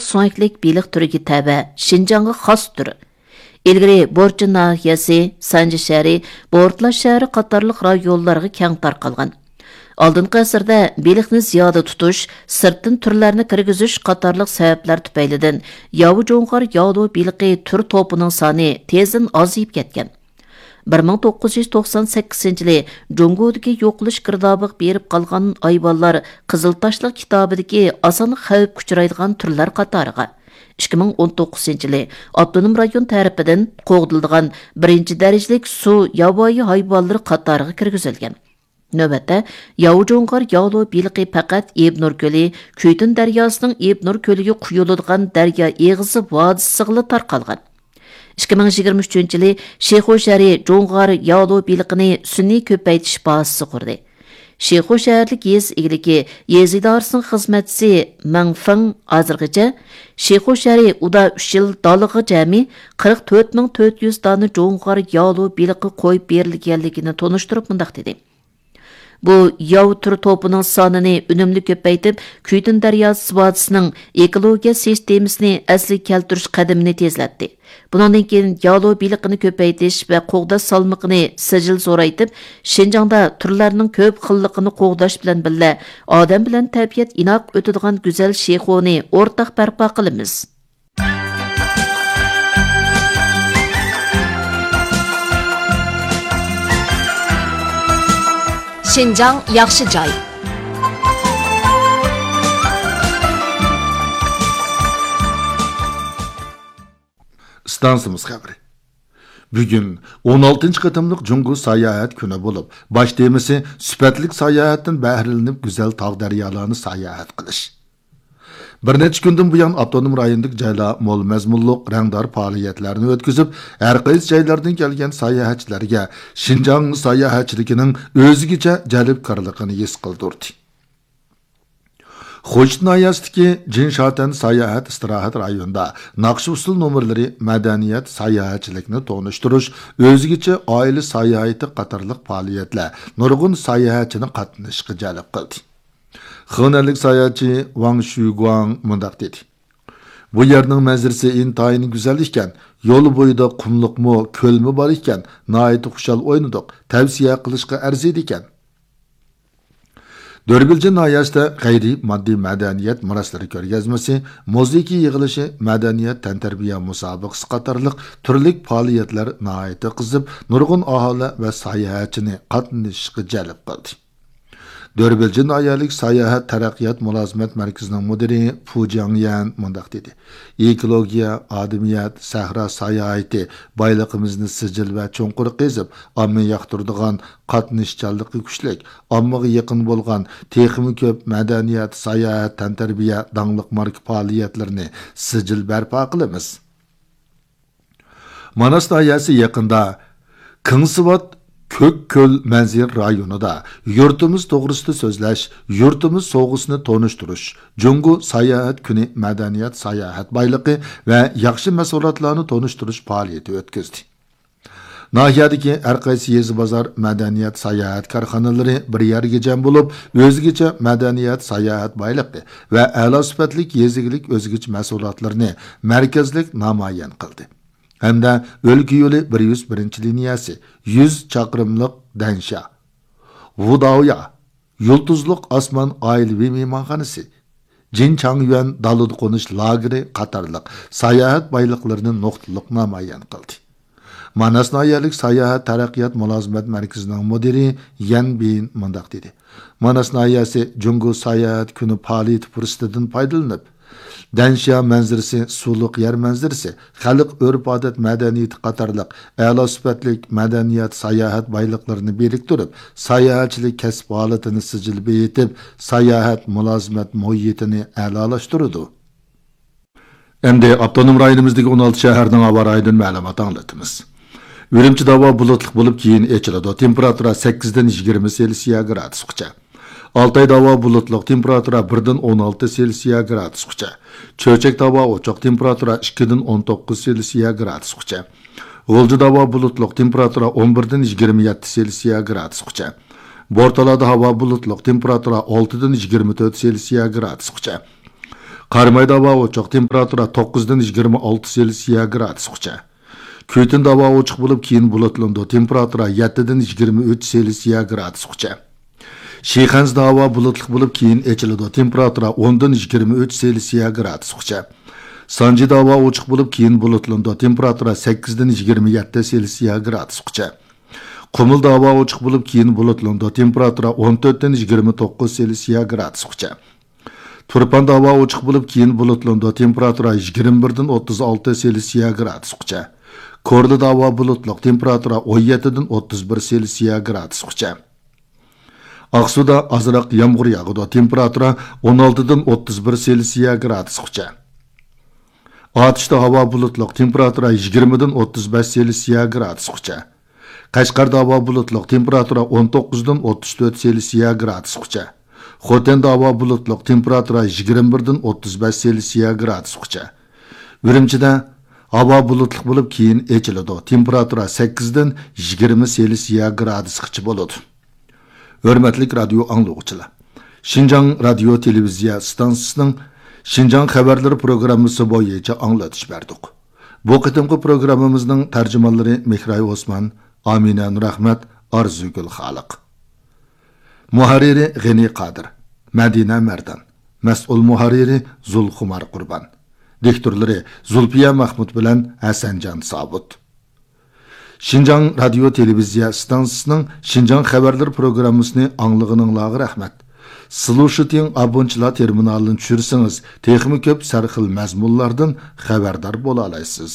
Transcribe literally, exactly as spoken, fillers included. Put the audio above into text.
سۆڭەكلىك بېلىق تۈرىگە تەۋە، شىنجاڭغا خاس تۈر. ئىلگىرى بورچىن ناھىيەسى، سانجى شەھىرى، بورتالا شەھىرى قاتارلىق رايونلارغا كەڭ تارقالغان. ئالدىنقى ئەسىردە بېلىقنى زىيادە تۇتۇش، سىرتتىن تۈرلەرنى كىرگۈزۈش قاتارلىق سەۋەبلەر تۈپەيلىدىن ياۋا جۇڭغار يالۇ بېلىقى تۈر توپىنىڭ سانى تېزدىن ئازىيىپ كەتكەن. بىر مىڭ توققۇز يۈز توقسان سەككىزىنچى يىلى جۇڭگودىكى يوقىلىش گىردابىغا بېرىپ قالغان ھايۋانلار قىزىل تاشلىق كىتابىدىكى ئاسان خەۋپكە ئۇچرايدىغان تۈرلەر قاتارىغا، ئىككى مىڭ ئون توققۇزىنچى يىلى ئاپتونوم رايون تەرىپىدىن قوغدىلىدىغان بىرىنچى دەرىجىلىك سۇ ياۋايى ھايۋانلىرى قاتارىغا كىرگۈزۈلگەن. نۆۋەتتە، ياۋا جۇڭغار يالۇ بېلىقى پەقەت ئىبنۇر كۆلى، كۈيتۈن دەرياسىنىڭ ئىبنۇر كۆلىگە قۇيۇلىدىغان دەريا ئېغىزى ۋادىسىغىلا تارقالغان. ئىككى مىڭ يىگىرمە ئۈچىنچى يىلى شىخۇ شەھىرى جۇڭغار يالۇ بېلىقىنى سۈنئىي كۆپەيتىش بازىسى قۇردى. شىخۇ شەھەرلىك يېزا ئىگىلىكى يېزا ئىدارىسىنىڭ خىزمەتچىسى مېڭ فېڭ ھازىرغىچە شىخۇ شەھىرى ئۇدا ئۈچ يىل دالىغا جەمئىي قىرىق تۆت مىڭ تۆت يۈز دانە جۇڭغار يالۇ بېلىقى قويۇپ بېرىلگەنلىكىنى تونۇشتۇرۇپ مۇنداق دېدى: بۇ ياۋا تۈر توپىنىڭ سانىنى ئۈنۈملۈك كۆپەيتىپ، كۈيتۈن دەرياسى ۋادىسىنىڭ ئېكولوگىيە سىستېمىسىنى ئەسلىگە كەلتۈرۈش قەدىمىنى تېزلەتتى. بۇنىڭدىن كېيىن يالۇ بېلىقىنى كۆپەيتىش ۋە قوغداش سالمىقىنى سىجىل زورايتىپ، شىنجاڭدا تۈرلەرنىڭ كۆپ خىللىقىنى قوغداش بىلەن بىللە، ئادەم بىلەن تەبىئەت ئىناق ئۆتىدىغان گۈزەل شىخۇنى ئورتاق بەرپا قىلىمىز. شىنجاڭ ياخشى جاي. ئىستانسىمىز خەۋىرى. بۈگۈن ئون ئالتىنچى قېتىملىق جۇڭگو ساياھەت كۈنى بولۇپ، باش تېمىسى سۈپەتلىك ساياھەتتىن بەھرىلىنىپ، گۈزەل تاغ دەريالارنى ساياھەت قىلىش. بىر نەچچە كۈندىن بۇيان، ئاپتونوم رايوندىكى جايلار مول مەزمۇنلۇق، رەڭدار پائالىيەتلەرنى ئۆتكۈزۈپ، ھەر قايسى جايلاردىن كەلگەن ساياھەتچىلەرگە شىنجاڭ ساياھەتچىلىكىنىڭ ئۆزگىچە جەلپكارلىقىنى ھېس قىلدۇردى. خوجىت ناھىيەسىدىكى جىنشاتەن ساياھەت ئىستىراھەت رايونىدا ناخشا ئۇسسۇل نومۇرلىرى مەدەنىيەت ساياھەتچىلىكنى تونۇشتۇرۇش، ئۆزگىچە ئائىلە ساياھىتى قاتارلىق پائالىيەتلەر نۇرغۇن ساياھەتچىنى قاتنىشىشقا جەلپ قىلدى. خېنەنلىك ساياھەتچى ۋاڭ شۈگۇاڭ مۇنداق دېدى: بۇ يەرنىڭ مەنزىرىسى ئىنتايىن گۈزەل ئىكەن، يول بويىدا قۇملۇقمۇ، كۆلمۇ بار ئىكەن، ناھايىتى خۇشال ئوينىدۇق، تەۋسىيە قىلىشقا ئەرزىيدىكەن. دۆربىلجىن ناھىيەسىدە غەيرىي ماددىي مەدەنىيەت مىراسلىرى كۆرگەزمىسى، مۇزىكا يىغىلىشى، مەدەنىيەت تەنتەربىيە مۇسابىقىسى قاتارلىق تۈرلۈك پائالىيەتلەر ناھايىتى قىزىپ، نۇرغۇن ئاھالە ۋە ساياھەتچىنى قاتنىشىشقا جەلپ قىلدى. دۆربىلجىن ناھىيەلىك ساياھەت تەرەققىيات مۇلازىمەت مەركىزىنىڭ مۇدىرى فۇ جياڭيەن مۇنداق دېدى: ئېكولوگىيە، ئادەمىيەت، سەھرا ساياھىتى بايلىقىمىزنى سىجىل ۋە چوڭقۇر قېزىپ، ئامما ياقتۇرىدىغان، قاتنىشچانلىقى كۈچلۈك، ئاممىغا يېقىن بولغان، تېخىمۇ كۆپ مەدەنىيەت، ساياھەت، تەنتەربىيە، داڭلىق ماركا پائالىيەتلىرىنى سىجىل بەرپا قىلىمىز. ماناس ناھىيەسى يېقىندا كېڭسىۋات كۆك كۆل مەنزىرە رايونىدا يۇرتىمىز توغرىسىدا سۆزلەش، يۇرتىمىز سوۋغىسىنى تونۇشتۇرۇش، جۇڭگو ساياھەت كۈنى مەدەنىيەت ساياھەت بايلىقى ۋە ياخشى مەھسۇلاتلارنى تونۇشتۇرۇش پائالىيىتى ئۆتكۈزدى. ناھىيەدىكى ھەر قايسى يېزا بازار، مەدەنىيەت، ساياھەت كارخانىلىرى بىر يەرگە جەم بولۇپ، ئۆزگىچە مەدەنىيەت، ساياھەت بايلىقى ۋە ئەلا سۈپەتلىك يېزا ئىگىلىك ئۆزگىچە مەھسۇلاتلىرىنى مەركەزلىك نامايان قىلدى ھەمدە ئۆلكە يولى بىر يۈز بىرىنچى لىنىيەسى، يۈز چاقىرىملىق دەنشيا، ۋۇداۋيا، يۇلتۇزلۇق ئاسمان ئائىلىۋى مېھمانخانىسى، جىن چاڭيۈەن دالىدا قونۇش لاگېرى قاتارلىق ساياھەت بايلىقلىرىنى نۇقتىلىق نامايان قىلدى. ماناس ناھىيەلىك ساياھەت تەرەققىيات مۇلازىمەت مەركىزىنىڭ مۇدىرى يەن بىن مۇنداق دېدى: ماناس ناھىيەسى جۇڭگو ساياھەت كۈنى پائالىيىتى پۇرسىتىدىن پايدىلىنىپ، دەنشيا مەنزىرىسى، سۇلۇق يەر مەنزىرىسى، خەلق ئۆرپ-ئادەت مەدەنىيىتى قاتارلىق ئەلا سۈپەتلىك مەدەنىيەت ساياھەت بايلىقلىرىنى بىرىكتۈرۈپ، ساياھەتچىلىك كەسىپ ھالىتىنى سىجىل بېيىتىپ، ساياھەت مۇلازىمەت مۇھىتىنى ئەلالاشتۇرىدۇ. ئەمدى ئاپتونوم رايونىمىزدىكى ئون ئالتە شەھەرنىڭ ھاۋا رايىدىن مەلۇمات ئاڭلىتىمىز. ئۈرۈمچىدە ھاۋا بۇلۇتلۇق بولۇپ، كېيىن ئېچىلىدۇ. تېمپېراتۇرا سەككىزدىن يىگىرمە سېلسىيە گرادۇسقىچە. ئالتايدا ھاۋا بۇلۇتلۇق، تېمپېراتۇرا بىردىن ئون ئالتە سېلسىيە گرادۇسقىچە. چۆچەكتە ھاۋا ئوچۇق، تېمپېراتۇرا ئىككىدىن ئون توققۇز سېلسىيە گرادۇسقىچە. غۇلجىدا ھاۋا بۇلۇتلۇق، تېمپېراتۇرا ئون بىردىن يىگىرمە يەتتە سېلسىيە گرادۇسقىچە. بورتالادا ھاۋا بۇلۇتلۇق، تېمپېراتۇرا ئالتىدىن يىگىرمە تۆت سېلسىيە گرادۇسقىچە. قارامايدا ھاۋا ئوچۇق، تېمپېراتۇرا توققۇزدىن يىگىرمە ئالتە سېلسىيە گرادۇسقىچە. كۈتۈندە ھاۋا ئوچۇق بولۇپ، كېيىن بۇلۇتلىنىدۇ، تېمپېراتۇرا يەتتىدىن يىگىرمە ئۈچ سېلسىيە گرادۇسقىچە. شىخەنزىدە ھاۋا بۇلۇتلۇق بولۇپ، كېيىن ئېچىلىدۇ، تېمپېراتۇرا ئوندىن يىگىرمە ئۈچ سېلسىيە گرادۇسقىچە. سانجىدا ھاۋا ئوچۇق بولۇپ، كېيىن بۇلۇتلىنىدۇ، تېمپېراتۇرا سەككىزدىن يىگىرمە يەتتە سېلسىيە گرادۇسقىچە. قۇمۇلدا ھاۋا ئوچۇق بولۇپ، كېيىن بۇلۇتلىنىدۇ، تېمپېراتۇرا ئون تۆتتىن يىگىرمە توققۇز سېلسىيە گرادۇسقىچە. تۇرپاندا ھاۋا ئوچۇق بولۇپ، كېيىن بۇلۇتلىنىدۇ، تېمپېراتۇرا يىگىرمە بىردىن ئوتتۇز ئالتە سېلسىيە گرادۇسقىچە. كورلىدا ھاۋا بۇلۇتلۇق، تېمپېراتۇرا ئون يەتتىدىن ئوتتۇز بىر سېلسىيە گرادۇسقىچە. ئاقسۇدا ئازراق يامغۇر ياغىدۇ، تېمپېراتۇرا ئون ئالتىدىن ئوتتۇز بىر سېلسىيە گرادۇسقىچە. ئاتۇشتا ھاۋا بۇلۇتلۇق، تېمپېراتۇرا يىگىرمىدىن ئوتتۇز بەش سېلسىيە گرادۇسقىچە. قەشقەردە ھاۋا بۇلۇتلۇق، تېمپېراتۇرا ئون توققۇزدىن ئوتتۇز تۆت سېلسىيە گرادۇسقىچە. خوتەندە ھاۋا بۇلۇتلۇق، تېمپېراتۇرا يىگىرمە بىردىن ئوتتۇز بەش سېلسىيە گرادۇسقىچە. ئۈرۈمچىدە ھاۋا بۇلۇتلۇق بولۇپ، كېيىن ئېچىلىدۇ، تېمپېراتۇرا سەككىزدىن يىگىرمە سېلسىيە گرادۇسقىچە بولىدۇ. ھۆرمەتلىك رادىيو ئاڭلىغۇچىلار، شىنجاڭ رادىيو تېلېۋىزىيە ئىستانسىسىنىڭ شىنجاڭ خەۋەرلىرى پروگراممىسى بويىچە ئاڭلىتىش بەردۇق. بۇ قېتىمقى پروگراممىمىزنىڭ تەرجىمانلىرى مېھراي ئوسمان، ئامىنە نۇرئەخمەت، ئارزۇگۈل خالىق. مۇھەررىرى غېنى قادىر، مەدىنە مەردان. مەسئۇل مۇھەررىرى زۇلخۇمار قۇربان. دىكتورلىرى زۇلپىيە مەخمۇت بىلەن ھەسەنجان سابىت. شىنجاڭ رادىيو تېلېۋىزىيە ئىستانسىسىنىڭ شىنجاڭ خەۋەرلىرى پروگراممىسىنى ئاڭلىغىنىڭلارغا رەھمەت. سلۇشىتىڭ ئابونچىلار تېرمىنالىنى چۈشۈرسىڭىز، تېخىمۇ كۆپ سەرخىل مەزمۇنلاردىن خەۋەردار بولالايسىز.